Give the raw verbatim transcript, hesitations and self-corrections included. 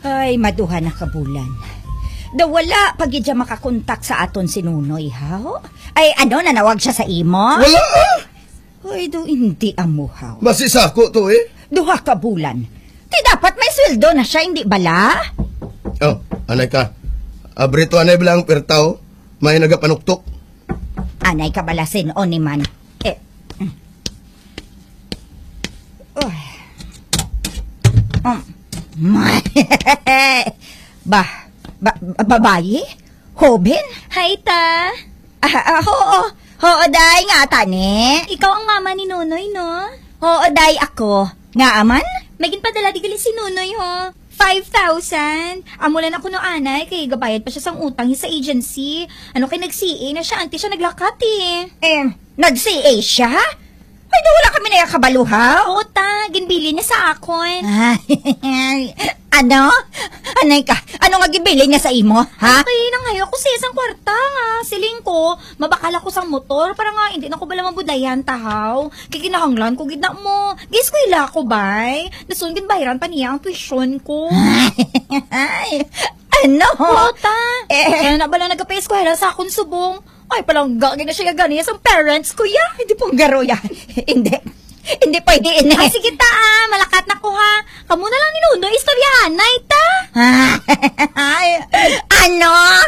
Ay, maduha na ka bulan. Daw wala pa gid siya makakontak sa aton si Nunoy, haw? Ay, ano, nanawag siya sa imo? Wala, ah! Ay, daw hindi amo, haw. Basi sa ako to, eh. Duha ka bulan. Di dapat may sweldo na siya, hindi bala? Oh, anay ka. Abri to, anay bala ang perta, oh. May nagapanuktok. Anay ka bala, sin-on ni man. Eh. Mm. Uy. Um. Ba, ba, babayi? Hoben? Hi, ta. Ah, ah, oo. Oo, day, nga tani. Ikaw ang mama ni Nonoy, no? Oo, day, ako. Nga man? May ginpadala di gali si Nonoy, ho. Five thousand. Amo lang ako no anay, kay gabayad pa siya sang utang sa agency. Ano kay nag-C A na siya, anti siya naglakat, eh. Eh, nag-C A siya? Ay, daw wala kami na kabalo, ha? Oo, ta. Ginbilin niya sa akon. Ay, ano? Anay ka? Ano nga ginbilin niya sa imo, ha? Kay nangayo ako sa isang kwarta nga. Siling ko, mabakal ako sang motor para nga hindi na ko bala mabudlayan, ta, haw. Kay kinahanglan ko gid na mo. Gi-eskwela ko, bay. Dason ginbayaran pa niya ang tuition ko. Ay, ano? Oo, ta. Eh. Kaya na bala nagapa-eskwela sa akon subong. Ay, palangga gid na siya gani sa parents ko, ya. Hindi pong garo, ya. Hindi. Hindi pwede ini. Ah, sige, ta, ah. Malakat na ko, ha. Kamo na lang ni Nonoy istoryahan, nay, ta. Ay, ano?